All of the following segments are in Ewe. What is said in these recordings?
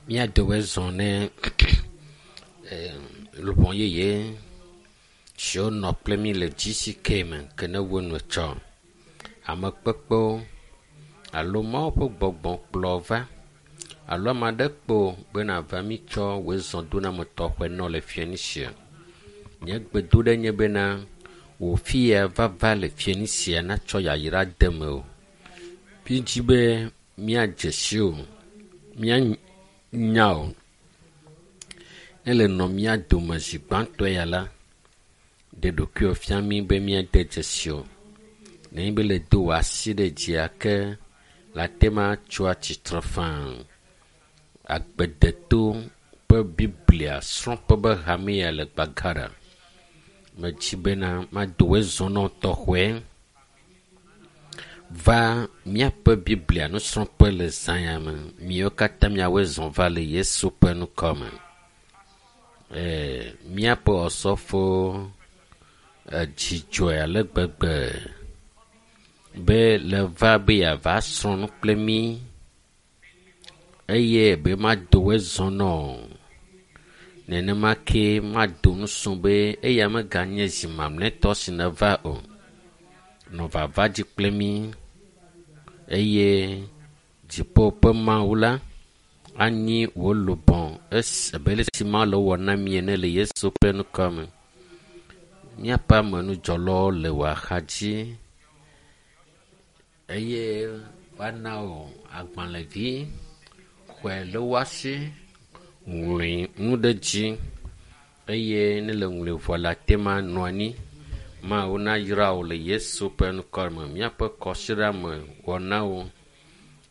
Míadowe zɔ ne luʋɔ yeye siwo nɔ kple mí le GCK me ke ne wo nu tsɔ. Ame kpekpewo alo Mawu ƒe gbɔgbɔ kplɔ va alo ame aɖe kpo be nava mítsɔ wòe zɔ do na ame tɔxɛ nɔ le fianisia. Nye gbedoɖe nye bena wò fi ya vava le fianisia natsɔ yayra de me o. Mídzi be míadze si o, míanya o. Ne le nɔ mía dome zi gbãtɔe ya la, ɖe ɖokuiwò fia mí be míade dzesi o. Nenye be le do wò asi ɖe dzia ke le ate ma tso atsitre faa. Agbedeto ƒe Biblia srɔ̃ƒe be hame ya le Gbagada. Medzi bena mado wòe zɔ nɔ tɔxɔe va míaƒe Biblia nusrɔ̃ƒe le zã ya me. Miwo katã miawoe zɔ va le Yesu ƒe ŋkɔ me. Míaƒe osɔfo edzidzɔe ale gbegbe be le va be yeava srɔ̃ nu kple mí eye be mado wòe zɔ nɔ o. Nenema ke mado nusɔ be eya meganye zi mamlɛtɔ si neva o. Nɔ vava dzi kple mí eye dziƒo ƒe Mawu la anyi wò lubɔ abe ale si Mawu le wɔ na mí ene le Yesu ƒe ŋkɔ me. Míaƒe amenudzɔlawo le wò axadzi eye woana wò agbalẽvi xɔe le woasi, ŋlɔe nu ɖe dzi eye ne le ŋlɔe vɔ le ate ma nɔ anyi. Mawu nayra wò le Yesu ƒe ŋkɔ me. Míaƒe kɔsiɖa me wɔnawo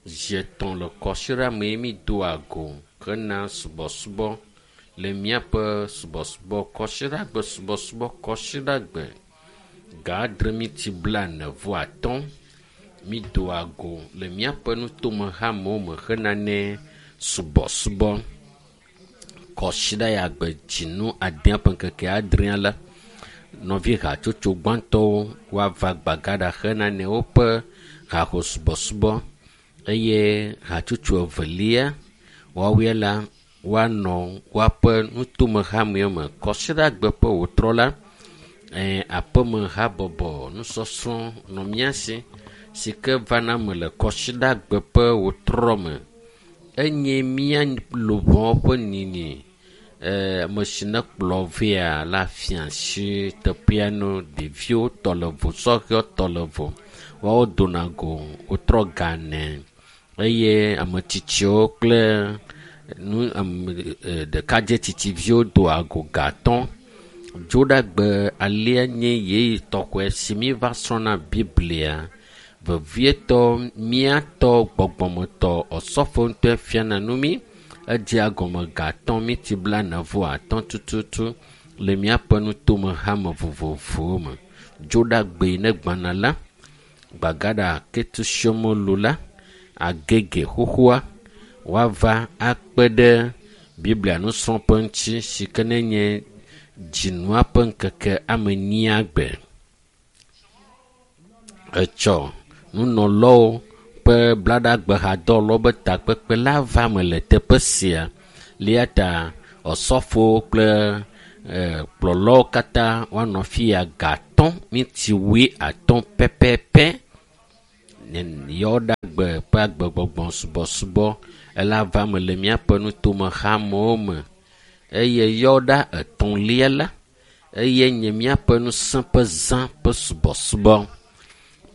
zi etɔ̃ le kɔsiɖa me mi doa go hena subɔsubɔ le míaƒe subɔsubɔ kɔsiɖagbe subɔsubɔ kɔsiɖagbe ga adre miti blaene vɔ atɔ̃ mi doa go le míaƒe nutome hamewo me hena ne subɔsubɔ. Kɔsiɖa ya gbe dzinu adea ƒe ŋkeke adrea la, nɔvi hatsotso gbãtɔwo woava Gbagada hena ne woƒe haho subɔsubɔ eye hatsotso evelia woawoe la woanɔ woaƒe nutome hamewo me. Kɔsiɖagbe ƒe wòtrɔ la, aƒeme habɔbɔ nusɔsrɔ̃ nɔ mía si si ke vana me le kɔsiɖagbe ƒe wòtrɔ me. Enye mía luʋɔ ƒe nini. Ame si ne kplɔ vea la fia asi teƒea no ɖeviwo tɔ le vo, sɔhewo tɔ le vo. Woawo dona go wotrɔ ga ene eye ame tsitsiwo kple nu ame ɖekadze tsitsiviwo doa go ga atɔ̃. Dzoɖagbe alea nye yeyi tɔxɛ si mi va srɔ̃na Biblia. Vevietɔ míatɔ gbɔgbɔmetɔ osɔfo ŋutɔe fiana nu mí. Edzea gɔme ga atɔ̃ miti blaene vɔ atɔ̃ tututu le míaƒe nutome hame vovovowo me. Dzoɖagbe ne gbana la, Gbagada ketusiɔmolu la, agege xoxoa woava akpe ɖe Biblia nusrɔ̃ƒe ŋuti si ke ne nye dzinua ƒe ŋkeke ame enyia gbe. Etsɔ nunɔlawo ƒe blaɖagbehadɔwɔlawo be takpekpe la va me le teƒe sia. Eya ta osɔfowo kple kplɔlawo katã woanɔ fi ya ga atɔ̃ miti wui atɔ̃ pɛpɛpɛ. Yewoɖagbe ƒe agbegbɔgbɔ subɔsubɔ ela va me le míaƒe nutome hamewo me eye yewoɖa etɔ̃lia la eye nye míaƒe ŋusẽ ƒe zã ƒe subɔsubɔ.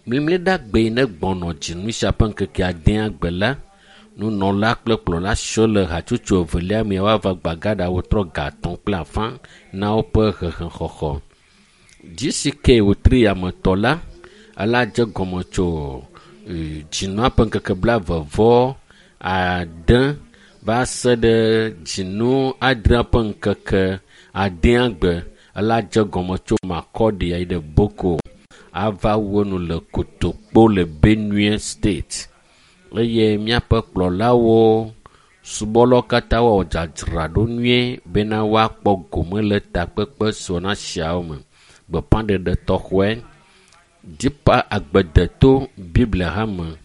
Mlimliɖagbe ne gbɔnɔ dzinu sia ƒe ŋkeke adea gbe la, nunɔla kple kplɔla siwo le hatsotso evelia me woava Gbagada wotrɔ ga atɔ̃ kple afã na woƒe hehexɔxɔ. GCK wòtri ametɔ la, ela dze gɔme tso dzinua ƒe ŋkeke blaeve vɔ ade va se ɖe dzinu adrea ƒe ŋkeke adea gbe. Ela dze gɔme tso Makurdi yi ɖe Boko ava wu enu le Kotokpo le Benue State eye míaƒe kplɔlawo subɔlawo katã woawɔ dzadzraɖo nyuie bena woakpɔ gome le takpekpe sɔna siawo me. Gbeƒãɖeɖe tɔxɔe Deeper agbedeto Biblia hame.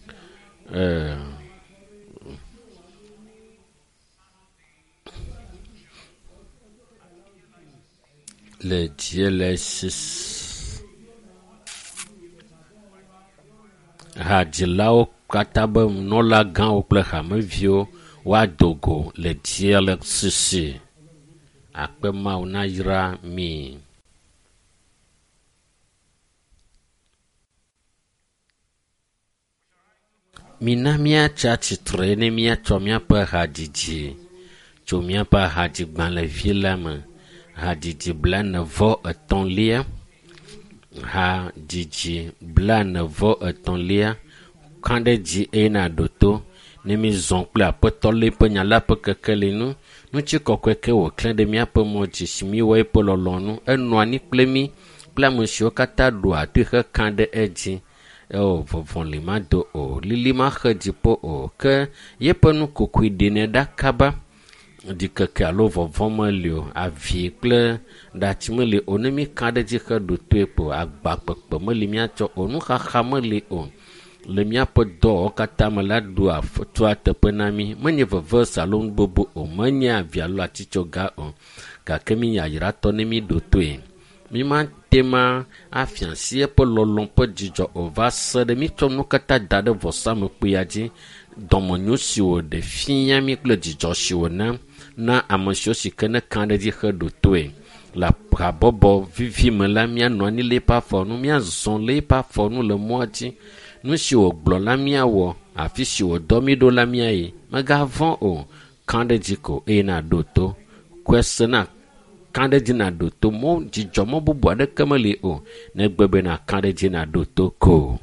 Le GLS hadzilawo katã be nunɔlagãwo kple hameviwo woado go le GLCC. Akpe Mawu nayra mi. Mina míatsi atsitre ne míatsɔ míaƒe hadzidzi tso míaƒe hadzigbalẽvi la me. Hadzidzi blaene-vɔ-etɔ̃lia. Hadzidzi blaene-vɔ-etɔ̃lia. Kã ɖe dzi eye nàɖo to ne mízɔ kple Aƒetɔ la ƒe nya la ƒe kekeli nu. Ŋutikɔkɔe ke wòklẽ ɖe míaƒe mɔ dzi si míewɔ eƒe lɔlɔ̃nu. Enɔa anyi kple mí kple ame siwo katã ɖoa toe hekã ɖe edzi. Eo vɔvɔli mado o, lili maxe dziƒo o, ke yeƒe nukokoe ɖenɛ ɖa kaba. Ɖikeke alo vɔvɔ̃ meli o, avi kple ɖatsi meli o. Ne míkã ɖe edzi heɖo toe ko agba kpekpe meli míatsɔ o, nuxaxa meli o. Le míaƒe dɔwɔwɔ katã me la ɖoa tua teƒe na mí. Menye vevese alo nu gbogbo o, menye avi alo atitsoga o. Gake mí yayratɔ ne míɖo toe. Mímate ma afia asi eƒe lɔlɔ̃ ƒe dzidzɔ o va se ɖe mítsɔ nu katã da ɖe vɔsamlekpuia dzi. Dɔmenyo si wòɖe fia mí kple dzidzɔ si wòna na ame siwo si ke ne kã ɖe edzi heɖo toe. Le habɔbɔ vivi me la, míanɔ anyi le eƒe afɔ nu, míazɔ le eƒe afɔ nu le mɔa dzi. Nu si wògblɔ la míawɔ, afi si wòdɔ mí ɖo la míayi. Mègavɔ̃ o, kã ɖe edzi ko eye nàɖo to. Kɔe se na kã ɖe edzi nàɖo to. Mɔ dzidzɔ mɔ bubu aɖeke meli o negbe be nàkã ɖe edzi nàɖo to ko.